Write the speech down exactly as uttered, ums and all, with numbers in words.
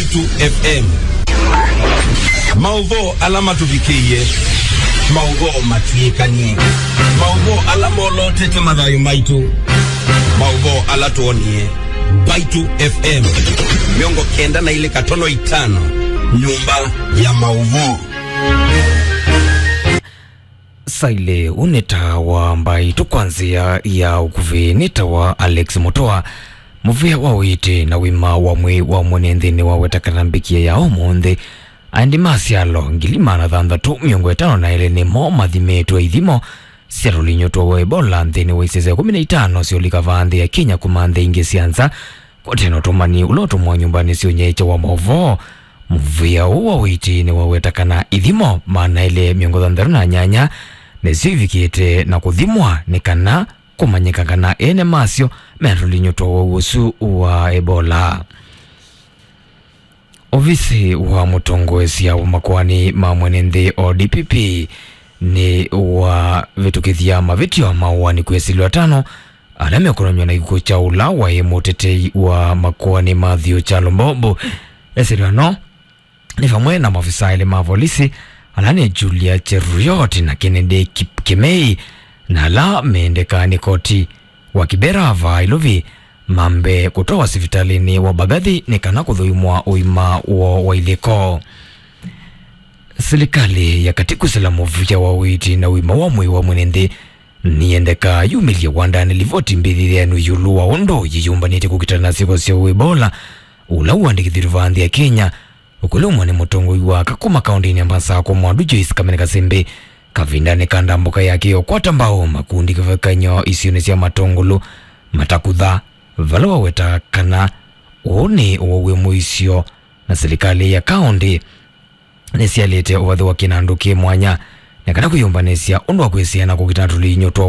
Mbaitu F M. Maũvoo ala matũvikĩie, maũvoo matw'ĩkanie, maũvoo ala molotete mathayũ maitũ, maũvoo ala twonie. Mbaitu F M, mĩongo kenda na ilĩ katono itano, nyũmba ya maũvoo. Saile ũnĩ ta wa Mbaitu kwa nzĩa ya ũkuvĩ nĩ ta wa Alex Mutua, mũvĩa wa ũiiti na ũima wa mwĩĩ wa mwene nthĩnĩ wa weta kana mbĩkĩe ya ũmũnthĩ. Aendi ma syalo ngili maana thanthatũ mĩongo ĩtano na elĩ nĩmo mathimĩtwe ithimo sya tũlinyũ twa Ebola nthĩnĩ wa isese kũmi na itano sya ũlika vaa nthĩ ya Kenya kuma nthĩ ingĩ sya nza. Kwatena ũtũmani ũla ũtũmwa nyũmbanĩ sya ũnyaĩĩkya wa maũvoo, mũvĩa ũũ wa ũiiti nĩwaweta kana ithimo maana elĩ mĩongo thanthatũ na nyanya nĩsyo ivikĩte na kũthimwa nĩ kana kũmanyĩka kana ene masyo mena tũlinyũ twa ũwau ũsu wa Ebola. Ovisi wa mũtongoesya wa makoani ma mwene nthĩ, o D P P, nĩ wavĩtũkĩthya mavĩtyo ma ũaani kwĩ asilwa atano ala mekonany'a na kĩkw'ũ kya ũla waĩ mũtetei wa makoani Matthew Kyalo Mbobo. Asilwa no nĩ vamwe na maofisa elĩ ma volisi, ala nĩ Julia Cheruiyot na Kennedy Kip-, Kĩmei, na ala mendeka nĩ koti wa Kibera vaa Ilovi mambe kũtwawa sivitalĩnĩ wa Mbagathi nĩ kana kũthũimwa ũima woo wa ilĩko. Silikalĩ ya katĩ kwĩsĩla mũvĩa wa ũiiti na ũima wa mwĩĩ wa mwene nthĩ nĩyendeka yumĩlye wandanĩ livoti mbĩthĩthenu ĩũlũ wa ũndũ yĩyũmbanĩtye kũkitana na syĩko sya Ebola, ũla ũandĩkĩthw'e vaa nthĩ ya Kenya, ũkũlũmwa nĩ mũtongoi wa Kakuma kaũntĩnĩ ya Masakũ Mwandu Joyce Kamene Kasembe, kavindanĩ ka ndambũka yake ya ũkwata mbau makundi kĩvathũkany'o isionĩ sya Matũngũlũ, Matakutha, vala waweta kana ũũ nĩ ũwau wĩ mũisyo, na silikalĩ ya kaũntĩ nĩsyalĩte ũvathũkany'o na andũ kĩ mwanya, na kana kwĩyũmbanĩsya ũndũ wa kwĩsĩana kũkitana tũlinyũ twa